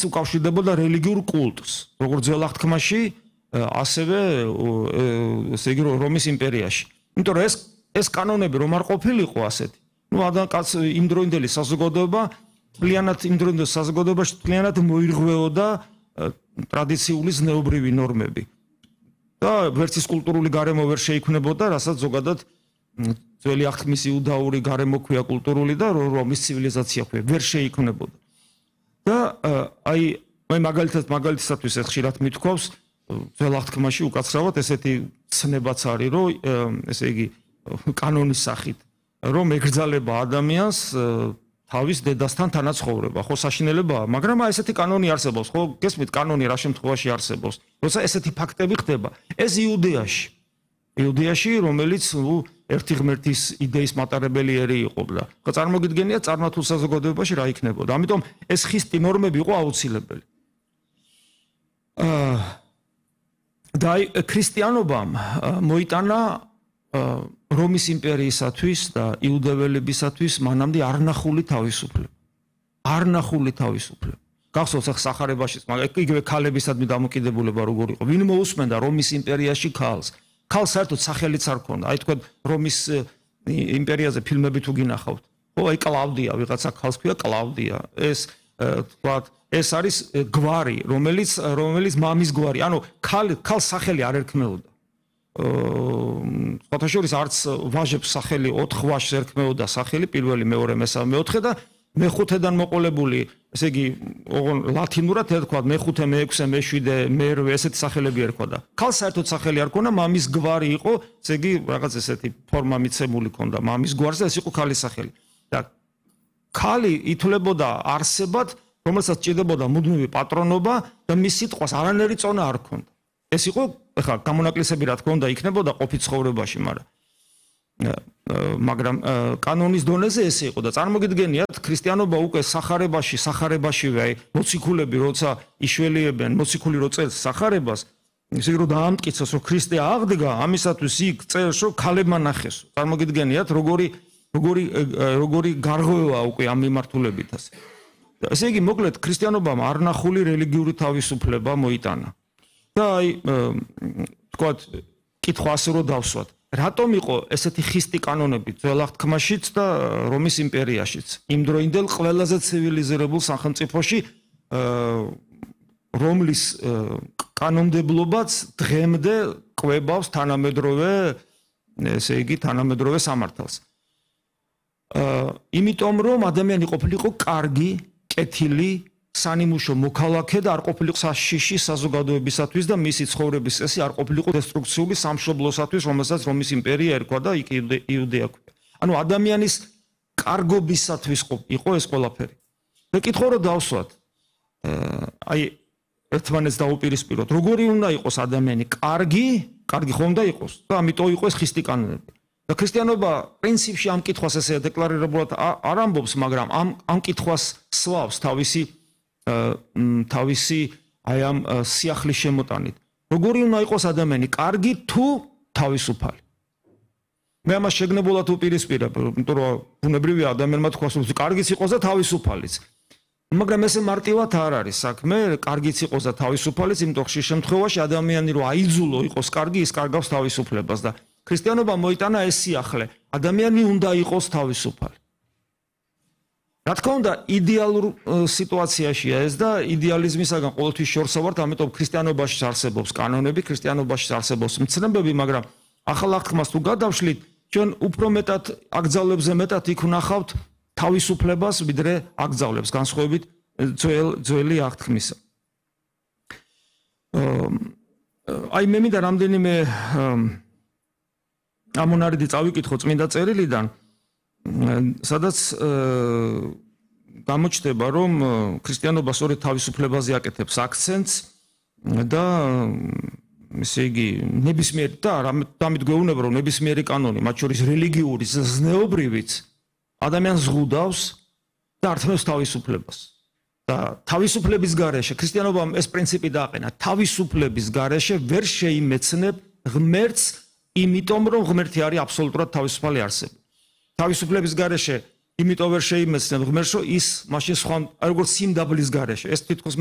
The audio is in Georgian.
უკავშირდებოდა რელიგიურ კულტს, როგორც ძველ აღთქმაში, ასევე ესე იგი რომის იმპერიაში. იმიტომ რომ ეს კანონები რომ არ ყოფილიყო ასეთი. იმდროინდელი საზოგადოება მთლიანად მოირღვეოდა ტრადიციული ზნეობრივი ნორმები. და ვერც ის კულტურული გარემო ვერ შეიქმნებოდა, რასაც ზოგადად ძველი აღთქმის იუდაური გარემო ქვია კულტურული და რომის ცივილიზაცია ქვია, ვერ შეიქმნებოდა. და აი მაგალითისათვის ეს ხშირად მithქვავს ძველ აღთქმაში უკაცრავად ესეთი ცნებაც არის, რომ ესე იგი კანონის სახით, რომ ეკრძალება ადამიანს თავის დედასთან თანაცხოვრება, ხო საშინელებაა, მაგრამ ესეთი კანონი არსებობს, ხო გესმით კანონი რა შემთხვევაში არსებობს, როცა ესეთი ფაქტები ხდება, ეს იუდეაში, რომელიც ერთი ღმერთის იდეის მატარებელი ერი იყო და წარმოგიდგენიათ წარმართულ საზოგადოებაში რა იქნებოდა. ამიტომ ეს ხისტი ნორმები იყო აუცილებელი. და ქრისტიანობამ მოიტანა რომის იმპერიისათვის და იუდეველებისათვის მანამდე არნახული თავისუფლება. გახსოვს ახ სახარებაშიც, მაგრამ იგივე ქალებისადმი დამოკიდებულება როგორ იყო. ვინ მოусმენდა რომის იმპერიაში ქალს? ქალს საერთოდ სახელიც არ ჰქონდა. აი თქვენ რომის იმპერიაზე ფილმები თუ გინახავთ. ო აი კლავდია, ვიღაცა ქალს ქვია კლავდია. ეს თქვათ ეს არის გვარი, რომელიც მამის გვარი. ანუ ქალს სახელი არ ერქმეოდა. სხვათა შორის არც ვაჟებს სახელი 4 ვაჟს ერქმეოდა სახელი, პირველი, მეორე, მესამე, მეოთხე და მეხუთედან მოყოლებული, ესე იგი, ლათინურად ერქვა მეხუთე, მეექვსე, მეშვიდე, მერვე, ესეთი სახელები ერქვა და ქალს საერთოდ სახელი არ ქონდა, მამის გვარი იყო, ესე იგი, რაღაც ესეთი ფორმა მიცემული ქონდა მამის გვარზე, ეს იყო ქალის სახელი. და ქალი ითვლებოდა არსებად, რომელსაც ჭირდებოდა მუდმივი პატრონობა და მის სიტყვას არანაირი წონა არ ჰქონდა. ეს იყო, ეხლა გამონაკლისები რა თქმა უნდა იქნებოდა ყოფით ცხოვრებაში, მაგრამ კანონის დონეზე ეს იყო და წარმოგიდგენიათ ქრისტიანობა უკვე სახარებაშივე აი მოციქულები როცა იშველიებენ მოციქული რო წერს სახარებას, ისე რომ დაამტკიცოს რომ ქრისტე აღდგა, ამისათვის იქ წერს რომ ქალებმა ნახეს. წარმოგიდგენიათ როგორი გარღვევა უკვე ამ მიმართულებით ასე. ესე იგი მოკლედ ქრისტიანობამ არნახული რელიგიური თავისუფლება მოიტანა. და აი თქვათ კითხვა ასე რომ დავსვათ. რატომ იყო ესეთი ხისტი კანონები ძველ აღთქმაშიც და რომის იმპერიაშიც? იმდროინდელ ყველაზე ცივილიზირებულ სახელმწიფოში, რომლის კანონმდებლობაც დღემდე კვებავს თანამედროვე სამართალს. იმიტომ რომ ადამიანი ყოფილიყო კარგი, კეთილი, სანიმუშო მოქალაქე და არ ყოფილიყო საშიში საზოგადოებისათვის და მისი ცხოვრების წესი არ ყოფილიყო დესტრუქციული სამშობლოსათვის, რომელსაც რომის იმპერია ერქვა და იქ იუდეა ქვია. ანუ ადამიანის კარგობისათვის იყო ეს ყველაფერი. და კითხვა რომ დავსვათ, აი ერთმანეთს დაუპირისპიროთ, როგორი უნდა იყოს ადამიანი, კარგი ხომ უნდა იყოს და ამიტომ იყო ეს ხისტი კანონები. და ქრისტიანობა პრინციპში ამ კითხვას ესე დეკლარირებულად არ ამბობს, მაგრამ ამ კითხვას სვავს თავისი აი ამ სიახლის შემოტანით. როგორი უნდა იყოს ადამიანი, კარგი თუ თავისუფალი? მე ამას შეგნებულად უპირისპირებ, იმიტომ რომ ბუნებრივია ადამიანმა თქვას, რომ კარგიც იყოს და თავისუფალიც. მაგრამ ესე მარტივად არ არის საქმე, კარგიც იყოს და თავისუფალიც, იმიტომ ხშირ შემთხვევაში ადამიანი რომ აიძულო იყოს კარგი, ის კარგავს თავისუფლებას და ქრისტიანობა მოიტანა ეს სიახლე, ადამიანი უნდა იყოს თავისუფალი. რა თქმა უნდა, იდეალურ სიტუაციაშია ეს და იდეალიზმისაგან ყოველთვის შორსა ვართ, ამიტომ ქრისტიანობაში არსებობს კანონები, ქრისტიანობაში არსებობს მცნებები, მაგრამ ახალ აღთქმას თუ გადავშლით, ჩვენ უფრო მეტად აკრძალვებზე მეტად იქ ვნახავთ თავისუფლებას, ვიდრე აკრძალვებს, განსხვავებით ძველი აღთქმისა. აი მე მინდა რამდენიმე ამონარიდი წავიკითხო წმინდა წერილიდან, სადაც გამოჩნდება, რომ ქრისტიანობა სწორედ თავისუფლებაზე აკეთებს აქცენტს და ესე იგი ნებისმიერი და ამით გვეუბნება, რომ ნებისმიერი კანონი, მათ შორის რელიგიური, ზნეობრივიც ადამიანს ზღუდავს და ართმევს თავისუფლებას. და თავისუფლების გარეშე ქრისტიანობამ ეს პრინციპი დააყენა, თავისუფლების გარეშე ვერ შეიმეცნებ ღმერთს, იმიტომ რომ ღმერთი არის აბსოლუტურად თავისუფალი არსება. თავისუფლების გარეშე იმიტომ ვერ შეიმეცნებ ღმერთს, რომ ის მაშინ სხვა, როგორც სიმდაბლის გარეშე, ეს თითქოს